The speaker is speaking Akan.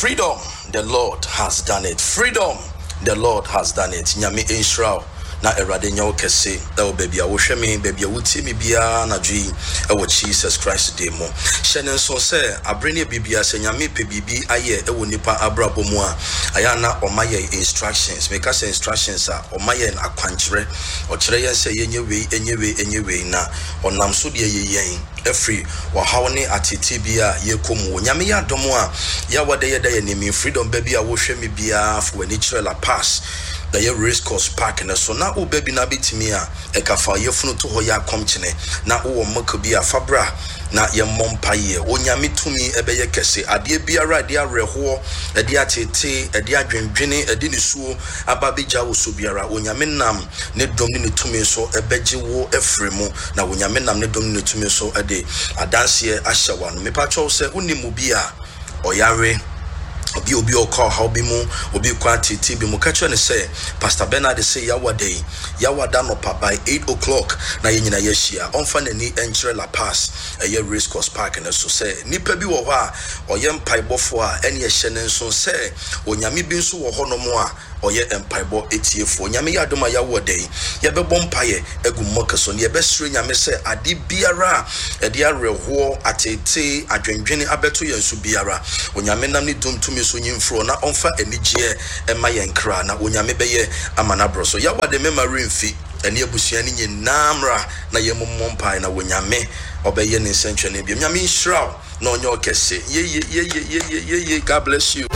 Freedom, the Lord has done it. Freedom, the Lord has done it. Nyame nhyira wo na Awurade nyɛ wo kɛse ɛwɔ baabi a wohwɛ me, baabi a wotie me biara anadwo yi ɛwɔ Jesus Christ din mu. Hyɛ ne nso sɛ abere ne biribiara sɛ Nyame pɛ biribi ayɛ ɛwɔ nipa abrabɔ mu a, ayɛ a na ɔma yɛn instructions. Meka sɛ instructions a, ɔma yɛn akwankyerɛ. Ɔkyerɛ yɛn sɛ yɛnyɛ wei, ɛnyɛ wei, ɛnyɛ wei na ɔnam so de ayi yɛn afiri ɔhaw ne ateetee bi a yɛkɔ mu. Onyame yɛ adom a, Yawa da yɛda yɛn anim. Freedom ba bi a wohwɛ me biara fa w'ani kyerɛ La Paz, ɛyɛ Race Course Park no so. Na woba bi na abɛtumi a, ɛka fa yafunu to hɔ yɛ akɔmkyene. Na wowɔ milk bi a, fa bra na yɛmmɔ mpaeɛ. Onyame tumi ɛbɛyɛ kɛse. Adeɛ biara a ɛde awerɛhoɔ, ɛde ateetee, ɛde adwendwene, ɛde nisuo aba abɛgya wo so biara, Onyame nam ne dom ne ne tumi so bɛgye wo afiri mu, na Onyame nam ne dom ne ne tumi so de adanseɛ ahyɛ w'ano. Mepakyɛw sɛ wonim obi a ɔyare, obi obi a ɔkɔ ɔhaw bi mu, obi kɔ ateetee bi mu, ka kyerɛ no sɛ Pastor Bernard se Yawada yi, Yawada anɔpa by 8 o'clock na yɛn nyinaa yɛahyia. Ɔmfa n'ani nkyerɛ La Paz, ɛyɛ Race Course Park no so. Sɛ nipa bi wɔ hɔ a ɔyɛ mpaebɔfoɔ a, ɛneɛ hyɛ no nso sɛ Onyame bi nso wɔ hɔnom a ɔyɛ mpaebɔ tiefoɔ. Nyame yɛ adom a yɛawo ɔda yi, yɛbɛbɔ mpaeɛ agu mmɔka so na yɛbɛsrɛ Nyame sɛ ade biara a ɛde awerɛhoɔ, ateetee, adwendwene abɛto yɛn so biara, Onyame nam ne dom tumi so nyi mfiri hɔ na ɔmfa anigyeɛ mma yɛn kra, na Onyame bɛyɛ ama no aborɔ so. Yawa de mɛma werɛ mfi ɛne abusua no nyinaa mmra na yɛmmɔ mpaeɛ na Onyame ɔbɛyɛ ne nsɛnkyerɛnne biom. Nyame nhyira wo na ɔnyɛ wo kɛse. Yeye yeye yeye yeye God bless you.